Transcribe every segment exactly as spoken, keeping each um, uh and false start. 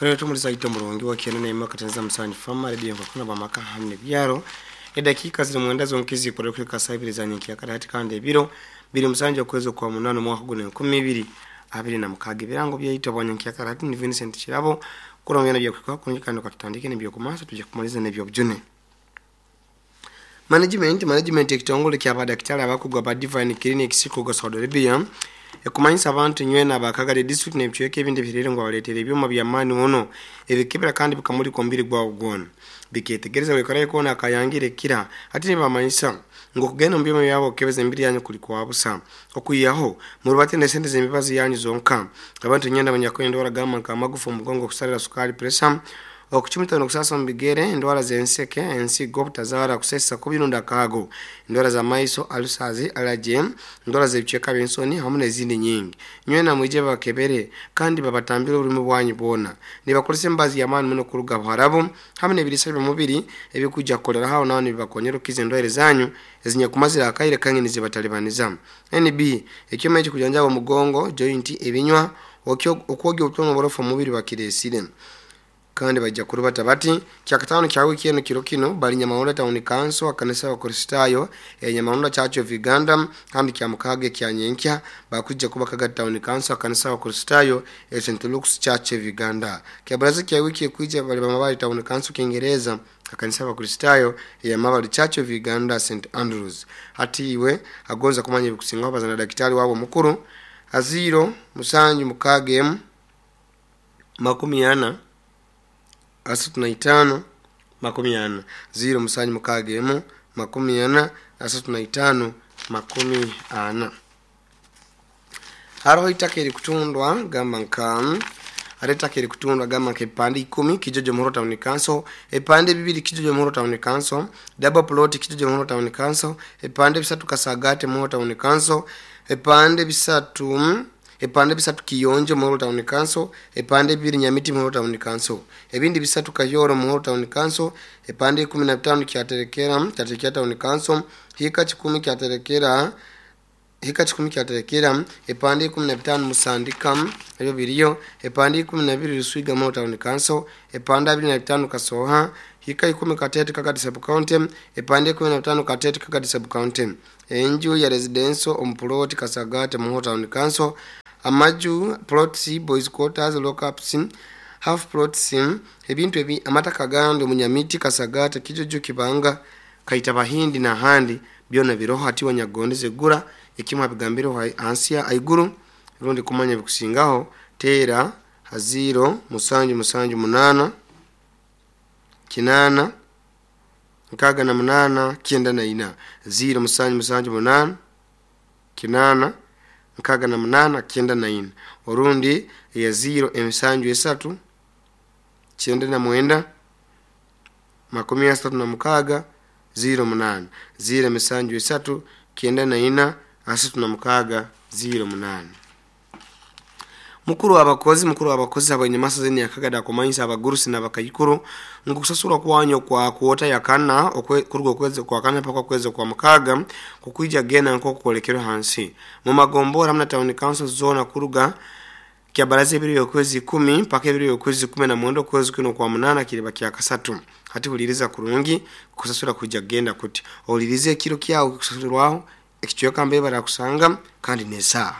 Rero tumulisa ito mulungi wa kiana na katenza msanyi fama redio nkakuna bamaka hamne byaro edakika ziri mwenda zonkizi kurekeka sabiri za nyenki akati kandi ebiro biri musanje okwezo kwa munano mwaka guno enkumi ibiri abiri na mukaaga ebirango byaito bwanyenki akati ni Vincent Kirabo kurongera bya kwikwa kunyikano katutandike n'ebyo kumasa tujya kumaliza n'ebyo bjune. Management management ekitongole kya badaktari abakugwa ba Divine Clinic siko Saudi Arabia ekumanyisa abantu nywena abakagale district n'ebicweka ebindi birere ngo baletere ebyuma bya mani muno ebikebera kandi bikamuli kombiri gwa ugona biketegereza wekaraye kona akayangire kira ati nibamanyisa ngo kugenda mu byuma byabo kebeza embiri yanyu kuli kwa busa okuyaho murubate nesente z'emibazi yanyu zonka abantu nyenda abanyakwenda baragamba nka amagufa omugongo kusalira sukali pressure okuchumita nokusasa mbigere endwara zenseke ensigo obutazara kusesa kubirunda kago endwara za maiso alusazi allergy endwara z'ebicheka by'ensoni hamwe n'ezindi nyingi nywena mwije bakebere kandi babatambire ururimi bwanyu bona nibakolesa embazi y'amaani muno kuruga Buharabu hamwe n'ebirisa by'omubiri ebikujja kukolera hawo nawo nibibakonyera okukiza endwaire zanyu ezinyakumazira akaire kange nizibatalibaniza. N B ekyoma ekikujanjaba omugongo joint ebinywa okwogya obutono oborofu omubiri bakiresire kandi bajja kurubata bati kyakatano kya wiki eno kiro kino bali Nyamahunda Town Council akanisa wa Kristayo e Nyamahunda Church of Uganda kandi kya mukage kya nyenkya bakujja kuba Kaga Town Council akanisa wa Kristayo e Saint Luke's Church of Uganda kya baraza kya wiki kuija bali bamabali Town Council Kiingereza akanisa wa Kristayo ya Mabali Church of Uganda Saint Andrews. Hati iwe agonza kumanya bikusinga bazana daktari wabo mukuru aziro musanju mukage makumi ana asatu na itano makumi ana ziro musanju mukaaga emu makumi ana asatu na itano makumi ana. Haroho itaka eri kutundwa gamba nka aretaka eri kutundwa gamba nka epande ikumi Kijojo Muhoro Town Council, epande bibiri Kijojo Muhoro Town Council, double plot Kijojo Muhoro Town Council, epande bisatu Kasagate Muhoro Town Council, epande bisatu epande bisatu Kiyonjo Muhoro Town Council, epande bibiri Nyamiti Muhoro Town Council, ebindi bisatu Kayoro Muhoro Town Council, epande kumi na tano Kyaterekera Kyaterekera Town Council, hika kikumi Kyaterekera hika kikumi Kyaterekera, epande kumi na bitano Musandika ebyo biriyo, epande kumi na bibiri Ruswiga Muhoro Town Council, epande abiri na bitano Kasoha, hika ikumi Katete Kagadi Sub County, epande kumi na bitano Katete Kagadi Sub County, enju ya residential omplot Kasagate Muhoro Town Council, amaju plots boys quarters lockups half plots ebintu ebi amataka gandi Munyamiti Kasagate Kijojo Kibanga Kaita Bahindi na handi byona biroho ati wanyagondeze gura ekimwa bigambiro hansi ya aiguru rundi kumanya bikusingaho tera haziro musanju musanju munana kinana nkaga na munana kienda na ina ziro musanju musanju munana kinana nkaga na munana kienda na ina orundi ya ziro emisanju esatu kienda na mwenda makumi asatu na mukaga ziro munana ziro emisanju esatu kienda na ina asatu na mukaga ziro munana. Mukuru abakozi mukuru abakozi abanyamasa zeni yakagada kumanyisa abagurusi n'abakayikuru ngukusasura kwanyo kwa kuota yakana okwe kurugo okwezi kwa kana paka kwezi kwa mukaga kukuija gena nko kukolekerwa hansi mu magombora hamna town council zona kuruga kya baraza ebiri okwezi kumi mpaka ebiri okwezi kumi na mwenda okwezi kuno kwa munana kiriba kya kasatu. Hati huliriza kurungi kusasura kuja genda kuti olirize ekiro kyawo kusasurwaho ekichweka mbe barakusanga kandi nesa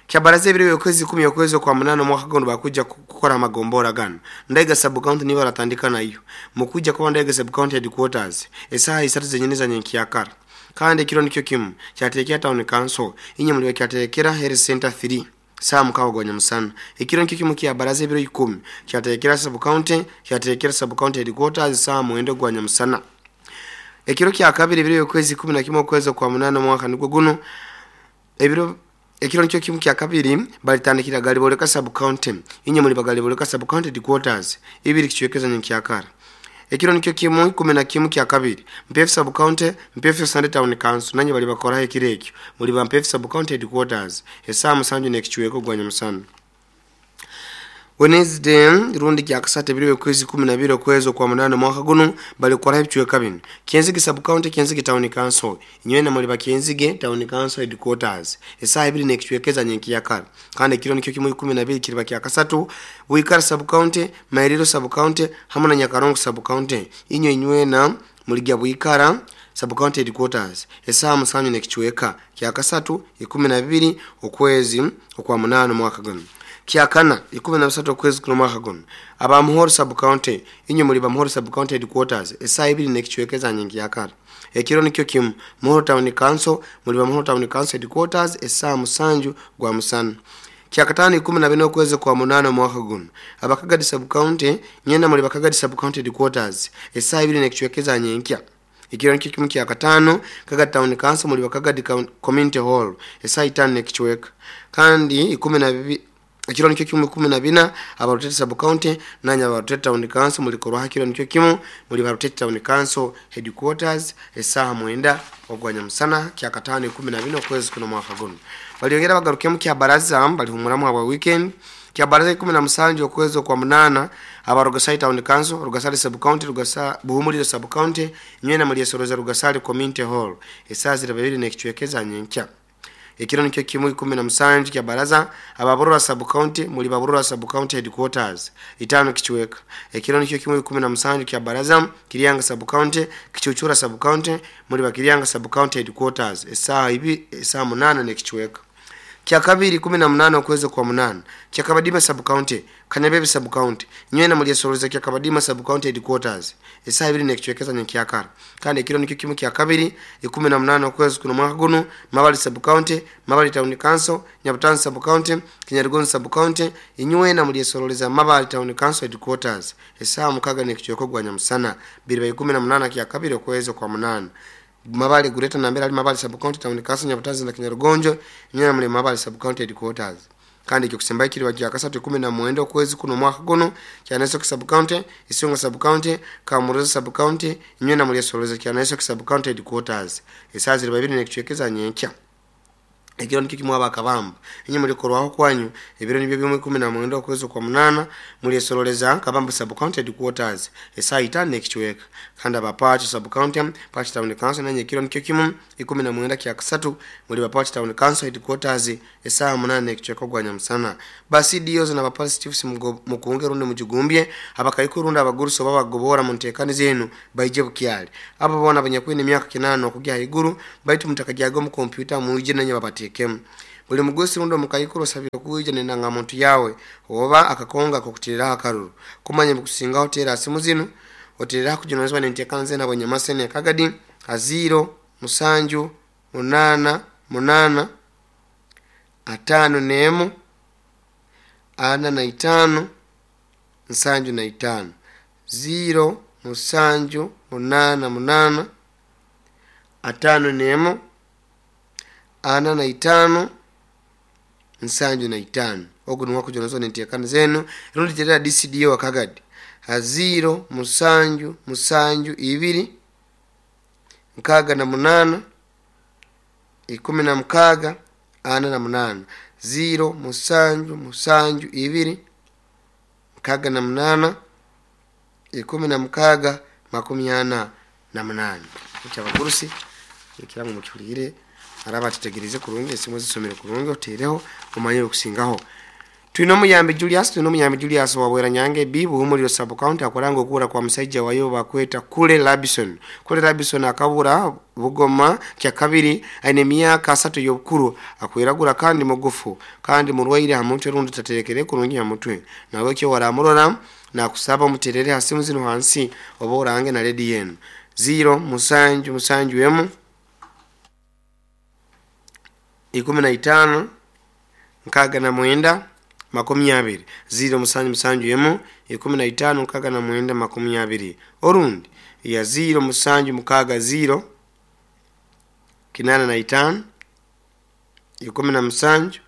kya baraza ebiri okwezi kumi okwezi kwa munana mwaka gondo bakuja kukora magombora gano Ndaiga sub county niba ratandika nayo mukuja kwa Ndaiga sub county headquarters esaha isatu zenyene za nyenkiyakara kandi ekiro nikyo kimu kyatekera town council inye muri kyatekera health center three saa mukawa gonya musana ekiro nikyo kimu kya baraza ebiro ikumi kyatekera sub county kyatekera sub county headquarters saa mwendo gwanya musana ekiro kya kabiri ebiro okwezi kumi na kimwe okwezi kwa munana mwaka nigwo guno ebiro ekiro nikyo kimu kya kabiri balitandikira Galiboleka sub county inye muri Bagaliboleka sub county headquarters ibiri kichwekeza nyenkiyakara ekiro nikyo kimu kumi na kimu kya kabiri Mpefu sub county Mpefu Sunday Town Council nanye bali bakora ekiro ekyo muri ba Mpefu sub county headquarters esaa musanju n'ekichweko gwanya musana. Wednesday rundi kyakasatu ebiro by'okwezi kumi na bibiri okwezi okwa munaana omwaka guno balikoraho ebicweka binu Kyenzige sub county Kyenzige town council inywena muli bakyenzige town council headquarters esaaha ibiri n'ekicwekeza nyenkiyakara kandi ekiro nikyo kimu ikumi na bibiri kiriba kyakasatu Bwikara sub county Mairiro sub county hamwe na Nyakarongo sub county inywe inywena muligya Bwikara sub county headquarters esaaha musanju n'ekicweka kyakasatu ikumi na bibiri okwezi okwa munaana omwaka guno kyakana ikumi na bisatu okwezi kuno mwaka guno aba Muhoro sub county inywe muli ba Muhoro sub county headquarters esaaha ibiri n'ekicwekeza nyenkiyakara ekiro nikyo kimu Muhoro town council muli ba Muhoro town council headquarters esaaha musanju gwa musana kyakatano ikumi na bina okwezi kwa munaana omwaka guno abakagadi sub county nyena muli bakagadi sub county headquarters esaaha ibiri n'ekicwekeza nyenkya ekiro nikyo kimu kyakatano Kagadi town council muli bakagadi community hall esaaha itaano n'ekicweka kandi ikumi na bibiri ekiro nikyo kimu ikumi na bina abarutete sub county nanya abarutete town council mulikorwa hakiro nikyo kimu muli barutete town council headquarters esaaha mwenda ogwanya musana kyakatano ikumi na bina okwezi kuno mwaka guno baliongera bagarukemu kya baraza balihumuramu aba weekend kya baraza ikumi na musanju okwezi kwa munana aba Rugasari town council Rugasari sub county Rugasa Buhumuliro sub county nywena muli esoroza Rugasari community hall esaaha zira babiri n'ekicwekeza nyenkya ekiro nikyo kimu ikumi na musanju kya baraza ababurura sub county muli baburura sub county headquarters itano kichweka ekiro nikyo kimu ikumi na musanju kya baraza Kiryanga sub county Kichuchura sub county muli bakiryanga sub county headquarters esaaha ibi esaaha munana n'ekichweka kya kabiri kumi na munana okwezi kwa munana kya Kabadima sub county Kanyabebe sub county nywena muli esoroza kya Kabadima sub county headquarters esaaha ibiri n'ekicwekeza nyekyakara kandi ekiro nikyo kimu kya kabiri ikumi na munana okwezi kuno mwaka guno Mabali sub county Mabali town council Nyabutanzi sub county Kinyarugonzi sub county inywena muli esoroleza Mabali town council headquarters esaaha mukaga n'ekicweka gwa nyamusana biri ba ikumi na munana kya kabiri okwezi kwa munana Mabali gureta nambera ali Mabali sub county town council Nyabutanzi na Kinyarugonjo nyina muli Mabali sub county headquarters kandi ekyo kusemba kiri wa kasatu ikumi na mwenda okwezi kuno mwaka guno Kyanesoke sub county Isunga sub county Kamuruza sub county nywena muli esoroleza Kyanesoke sub county headquarters esaaha ziri babiri n'ekicwekeza nyenkya ekiro nikyo kimu abakabamba inye mulikorwaho kwanyu ebiro nibyo bimwe ikumi na mwenda okwezi kwa munana muli esoroleza Kabamba sub county headquarters esaaha itaano n'ekicweka kandi abapachi sub county Pachi town council nanye ekiro nikyo kimu ikumi na mwenda kya kasatu muli bapachi town council headquarters esaaha munana n'ekicweka gwa nyamusana basi D Os na bapolice chiefs mukunge rundi mujigumbye abakaiku rundi abagurusi oba bagobora mu nteekani zenu baije bukyali abo bona abanyakwine emyaka kinana okugya haiguru baitu mutakagyaga omu kompyuta muije nanye babateeke buli mugusi rundi omukaikuru osabire kuija nendangamuntu yawe oba akakonga kokutiriraho akaruru kumanya bikusingaho tera simu zinu otiriraho kujunanizibwa nenteekana zenu abonyamasene Kagadi aziro musanju munana munana atano nemu ana na itano nsanju na itano ziro musanju munana munana atano nemu ana na itano nsanju na itano ogu niwo kujunanizibwa nenteekana zenu rundi terera D C D O Kagadi aziro musanju musanju ibiri nkaga na munana ikumi na mukaga ana na munana ziro musanju musanju ibiri nkaga na munana ikumi na mukaga makumi ana na munana ekyabagurusi ekirango mukihuliire araba tutegereze kurungi esimu zisomere kurungi otereho omanye okusingaho Twine omuyambi Julius twine omuyambi Julius wabwera Nyange B Buhumuliro sub county akoranga okubura kwa musajja wayo bakweta Kule Labison Kule Labison akabura Bugoma kya kabiri aine emyaka asatu y'obukuru akwiragura kandi mugufu kandi murwaire ha mutwe rundi taterekere kurungi ha mutwe nawe kyo waramurora nakusaba omuterere ha simu zino hansi oba orange na ledi yenu ziro musanju musanju emu ikumi na itano nkaga na mwenda makumi abiri ziro musanju musanju emu ikumi na itano nkaga na mwenda makumi abiri orundi ya ziro musanju mukaga ziro kinana na itano ikumi na musanju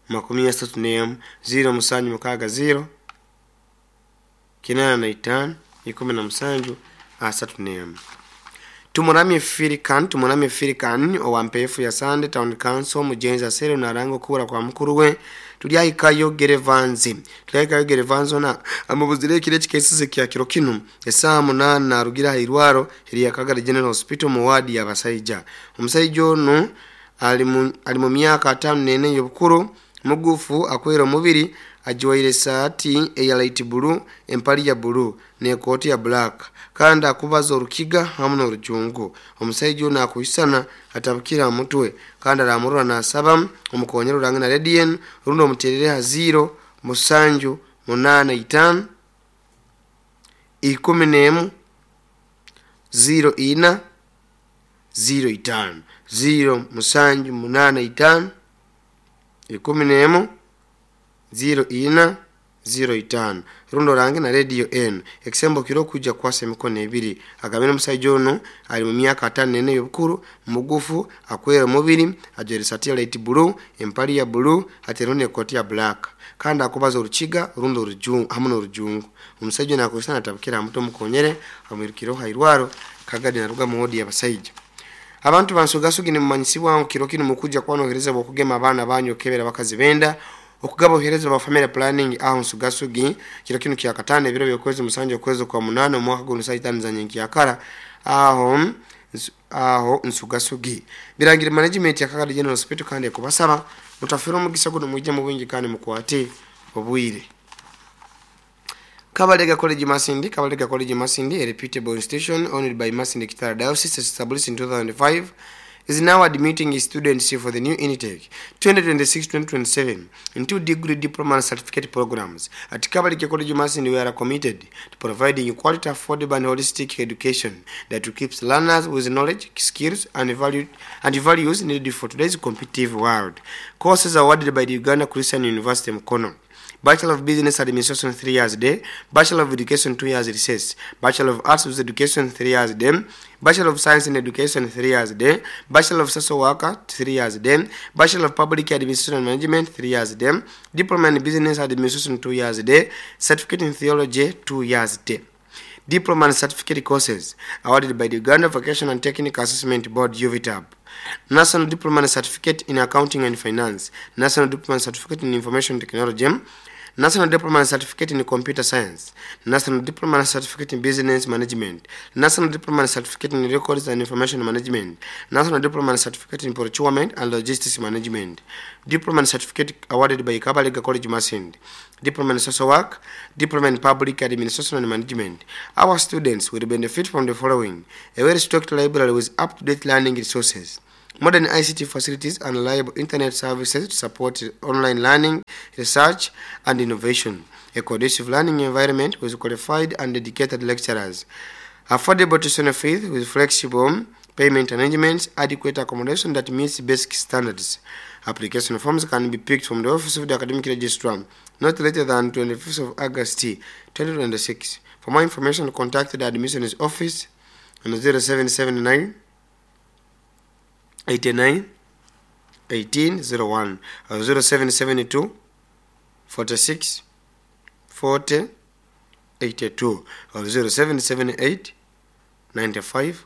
makumi asatu n'emu ziro musanju mukaga ziro kinana na itano ikumi na musanju asatu n'emu Tumuramye Firikan Tumuramye Firikan owa mpefu ya Sande Town Council mujenzi asere naranga okubura kwa mukuru we Tulyahikayo Gerevanzi Tulyahikayo Gerevanzi ona amubuzire ekiro ekikesize kya kiro kinu esaaha munaana narugira aha irwaro erya Kagadi General Hospital mu waadi y'abasaija. Omusaija onu ali mu, ali mu myaka ataano n'ena ey'obukuru, mugufu, akwera omubiri, ajwaire esaati eya light blue, empali ya blue n'ekooti ya black, kandi akubaza orukiga hamu n'orujungu. Omusaija onu akwisana atabukire aha mutwe kandi aramurora nasaba omukonyera orange na rediyo rundi omuterere ha ziro musanju munaana itaano ikumi n'emu ziro ina ziro itaano ziro musanju munaana itaano ikumi n'emu ziro ina ziro itaano rundi orange na rediyo enu ekisembo kiro kujja kukwasa emikono ebiri. Agambire omusaija onu ali mu myaka ataano n'ena ey'obukuru, mugufu, akwera omubiri, ajwaire esaati ya light blue, empali ya blue, atereho n'ekooti ya black, kandi akubaza orukiga rundi orujungu hamu n'orujungu. Omusaija onu akwisana atabukire aha mutwe, omukonyere amwirukireho ha irwaro Kagadi naruga mu wodi y'abasaija. Abantu bansugasugi nimumanyisibwa ngu kiro kinu mukujja kuba n'obuheereza bw'okugema abaana banyu, okukebera abakazi benda, okugaba obuheereza bwa family planning aho Nsugasugi kiro kinu kya kataano ebiro by'okwezi musanju okwezi kwa munaana omwaka guno saa itaano za nyenkyakara aho aho Nsugasugi. Birangire management ya Kagadi General Hospital kandi ekubasaba mutafire omugisa guno, mwije mu bwingi kandi mukwate obwire. Kabalega College Masindi. Kabalega College Masindi, a reputable institution owned by Masindi Kitara Diocese, established in two thousand five, is now admitting students for the new intake twenty twenty-six twenty twenty-seven in two degree, diploma and certificate programs. At Kabalega College Masindi, we are committed to providing quality, affordable and holistic education that keeps learners with knowledge, skills and, value, and values needed for today's competitive world. Courses awarded by the Uganda Christian University Mukono: Bachelor of Business Administration three years day, Bachelor of Education two years recess, Bachelor of Arts with Education three years day, Bachelor of Science in Education three years day, Bachelor of Social Worker three years day, Bachelor of Public Administration and Management three years day, Diploma in Business Administration two years day, Certificate in Theology two years day. Diploma and Certificate courses awarded by the Uganda Vocational and Technical Assessment Board U V T A B. National Diploma and Certificate in Accounting and Finance, National Diploma and Certificate in Information Technology, National Diploma and Certificate in Computer Science, National Diploma and Certificate in Business Management, National Diploma and Certificate in Records and Information Management, National Diploma and Certificate in Procurement and Logistics Management, Diploma and Certificate awarded by Kabalega College Masindi, Diploma in Social Work, Diploma in Public Administration and Management. Our students will benefit from the following: a well-stocked library with up-to-date learning resources, modern I C T facilities and reliable internet services to support online learning, research and innovation, a conducive learning environment with qualified and dedicated lecturers, affordable tuition fees with flexible payment arrangements, adequate accommodation that meets basic standards. Application forms can be picked from the office of the academic registrar not later than twenty-fifth of August twenty twenty-six. For more information, contact the admissions office on zero seven seven nine eighty-nine eighteen zero one or zero seven seven two forty-six forty eighty-two or zero seven seven eight ninety-five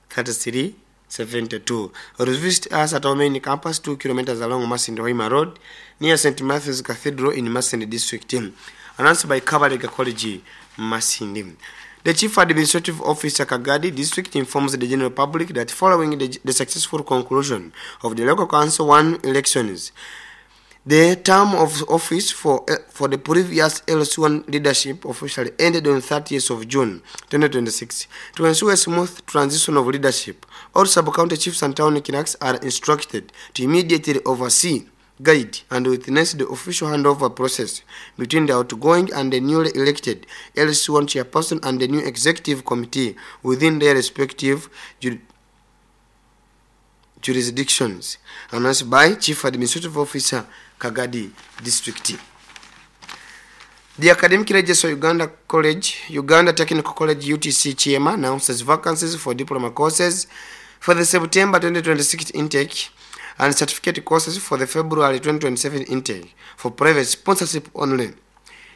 thirty-three seventy-two, or visit us at our main campus two kilometers along Masindi Hoima Road near Saint Matthew's Cathedral in Masindi District. Announced by Kabalega College Masindi. The Chief Administrative Officer Kagadi District informs the general public that following the, the successful conclusion of the local council one elections, the term of office for, uh, for the previous L C one leadership officially ended on thirtieth of June twenty twenty-six. To ensure a smooth transition of leadership, all sub-county chiefs and town clerks are instructed to immediately oversee, guide, and witness the official handover process between the outgoing and the newly elected L C one chairperson and the new executive committee within their respective ju jurisdictions. Announced by Chief Administrative Officer, Kagadi District. The Academic Registrar Uganda College, Uganda Technical College U T C Chiema announces vacancies for diploma courses for the September twenty twenty-six intake and certificate courses for the February twenty twenty-seven intake for private sponsorship only.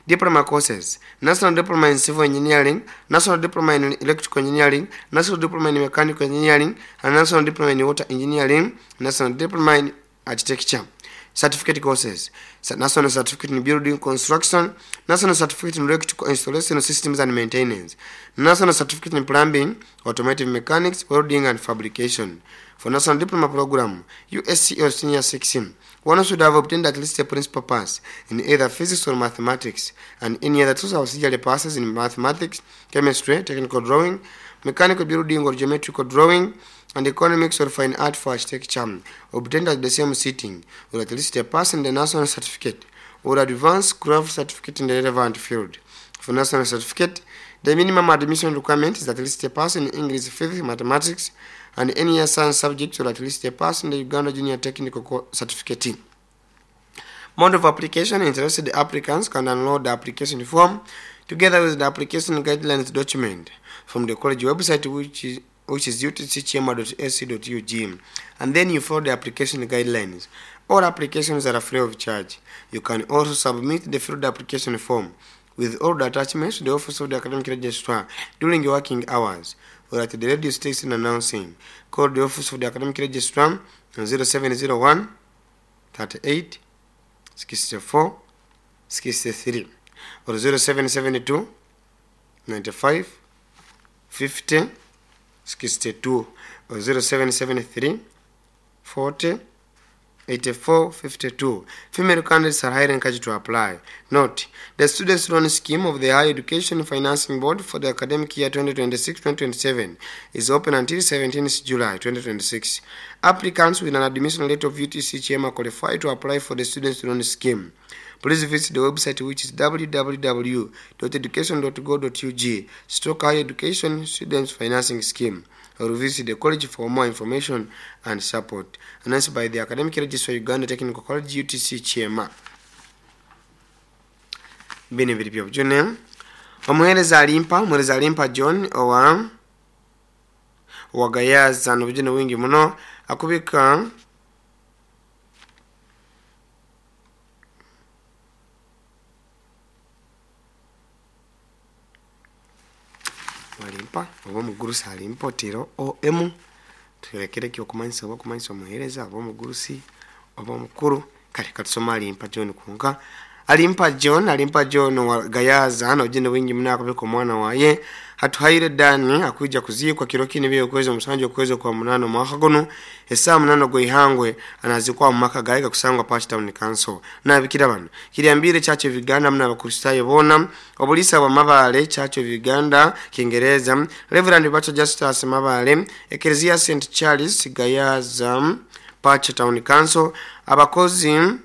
Diploma courses: National Diploma in Civil Engineering, National Diploma in Electrical Engineering, National Diploma in Mechanical Engineering, and National Diploma in Water Engineering, National Diploma in Architecture. Certificate courses: National Certificate in Building Construction, National Certificate in Electrical Installation Systems and Maintenance, National Certificate in Plumbing, Automotive Mechanics, Welding and Fabrication. For National Diploma Program, U S C or Senior six, one should have obtained at least a principal pass in either physics or mathematics, and any other two auxiliary passes in mathematics, chemistry, technical drawing, mechanical building or geometrical drawing, and economics or fine art for architecture, obtained at the same sitting, or at least a pass in the national certificate or advanced craft certificate in the relevant field. For national certificate, the minimum admission requirement is at least a pass in English, physics, mathematics, and any science subject, or at least a pass in the Uganda Junior Technical Certificate. Mode of application: interested applicants can download the application form together with the application guidelines document from the college website, which is which is U T C kyema dot A C dot U G, and then you follow the application guidelines. All applications are free of charge. You can also submit the filled application form with all the attachments to the Office of the Academic Registrar during your working hours, or at the radio station announcing. Call the Office of the Academic Registrar on zero seven zero one, thirty-eight, sixty-four, sixty-three or zero seven seven two, ninety-five, fifty, sixty-two or zero seven seven three, forty, eighty-four, fifty-two. Female candidates are highly encouraged to apply. Note, the Students' Loan Scheme of the Higher Education Financing Board for the academic year twenty twenty-six twenty twenty-seven is open until seventeenth July twenty twenty-six. Applicants with an admission letter of U T C Kyema qualify to apply for the Students' Loan Scheme. Please visit the website, which is w w w dot education dot go dot u g stroke higher education students financing scheme, or visit the college for more information and support. Announced by the Academic Registrar, Uganda Technical College, U T C Kyema. Bini biri byo june. Omuhereza alimpa, omuhereza alimpa John owa wagayaza n'obujune wingi muno akubika alimpa oba omugurusi alimpa otiro O M turekere kyo kumanyisa oba kumanyisa omuhereza oba omugurusi oba omukuru. Kale katusoma alimpa John kunka alimpa John alimpa John wa Gayaza n'obujune wingi muno akubika omwana waye hatuhaire Dani akuja kuzikwa kiro kini byo kwezi omusanju okwezi kwa munano mwaka guno esaa munano gweihangwe anazikwa mu maka gayiga kusangwa Pachi Town Council. Nabikira bano kiriambire Church of Uganda mna abakristayo bona obulisa bwa Mabale Church of Uganda Kiingereza Reverend Bacho Justus Mabale Ecclesia Saint Charles Gayaza Pachi Town Council abakozi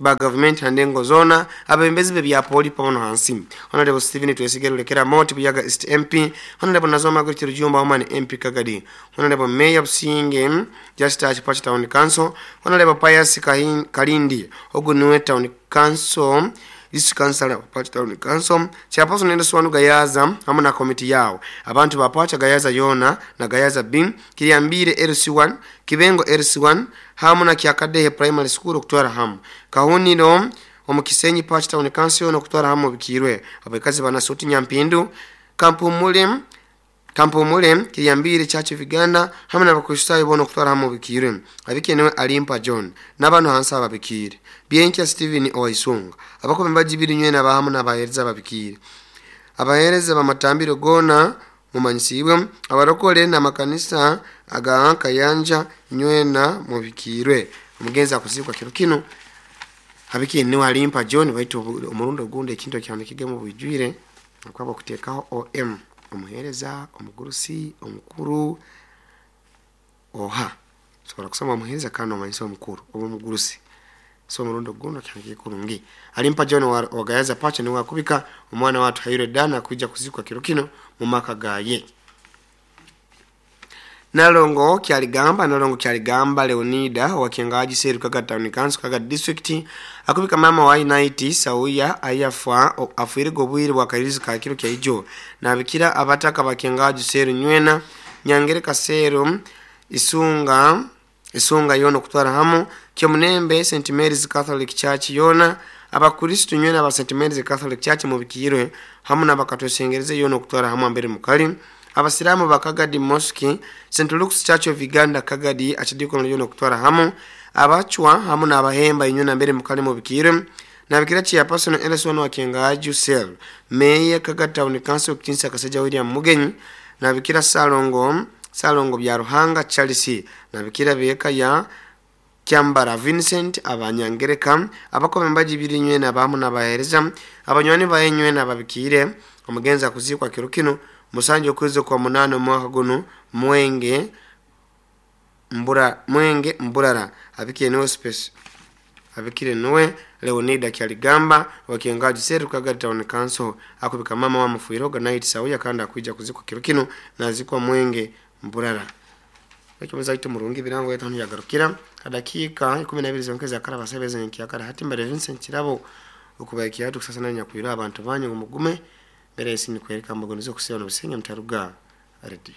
ba government handengo zona abembezi be bya poli pamono hansi. Honorable Stephen Twesigero Lekera Moti Buyaga East M P, Honorable Nazoma Gwiti Rujumba Woman M P Kagadi, Honorable Mayor Businge Justus Pachi Town Council, Honorable Pius Kalindi Ogunwe Town Council District Council Pachi Town Council, Chairperson Nelson Wanu Gayaza hamwe na committee yao abantu ba Pacha Gayaza yona na Gayaza B Kiriambire L C one Kibengo L C one hamwe na Kyakadehe Primary School okutwara hamu Kahuniro omukisenyi Pachi Town Council no kutwara hamu bikirwe abakazi bana suti Nyampindu Kampumule Kampumule Kiriambire Church of Uganda hamwe n'abakristayo bono kutwara hamu bikirwe abikenewe alimpa John n'abantu hansa ababikire Bienkia Steven Oisunga abakombe bajibiri nywe n'abahamu n'abahereza babikire abahereza bamatambiro gona mumanyisibwe abarokole n'amakanisa aga Kayanja nywena mubikirwe omugenzi akuzikwa kiro kino abikenewe alimpa John baitu omurundo gundi ekintu kyandikige mu bujwire akwaba kutekaho O M omuhereza omugurusi omukuru oha sobola kusoma omuhereza kandi omanyisa omukuru oba omugurusi so omurundo guno kyandikige kurungi alimpa John wa Gayaza Pacha niwe akubika omwana watu Haire Dana kuja kuzikwa kiro kino mu maka gaye. Nalongo Kyaligamba Nalongo Kyaligamba Leonida wa Kiangaji Seru Kaga Town Council Kaga District akubika mama wa United Sauya ayafa afuire gobwire bwa kairizi ka kiro kya ijo nabikira abataka ba Kiangaji Seru nywena Nyangere Kasero Isunga Isunga yono kutwara hamu Kyomunembe Saint Mary's Catholic Church yona abakristo nywena aba Saint Mary's Catholic Church mubikirwe hamu nabakatwesengereze yono kutwara hamu ambere mukali Abasiramu ba Kagadi Mosque, Saint Luke's Church of Uganda Kagadi achidiko nyo kutwara hamu abachwa hamu n'abahemba inyuna mbere mukali mu bikire nabikira chairperson L S one wa Kengaju Cell, Mayor Kagadi Town Council Kinsa Kaseja William Mugenyi, nabikira Salongo Salongo bya Ruhanga Charles, nabikira beka ya Kyambara Vincent, abanyangereka abakome mbaji birinywe nabamu nabahereza abanywani bayenywe nababikire. Omugenzi kuzikwa kiro kino musanje okwezi kwa munane omwaka guno Mwenge Mbura, Mwenge Mburara. Abikire niwe space, abikire niwe Leonida Kyaligamba wakiengaji seru Kagadi Town Council akubika mama wa mufuiroga night sauya kandi akuija kuzikwa kiro kino nazikwa Mwenge Mburara. Ekyo ito murungi birango yetu yagarukira dakika ikumi na ibiri zonkeza kara basebeze nkiyakara hati mbere Vincent Kirabo okubaiki yatu kusasa nanya kuira abantu banyu mugume mbere isi ni kwereka mbogonizo kusewa no busenga mtaruga radio.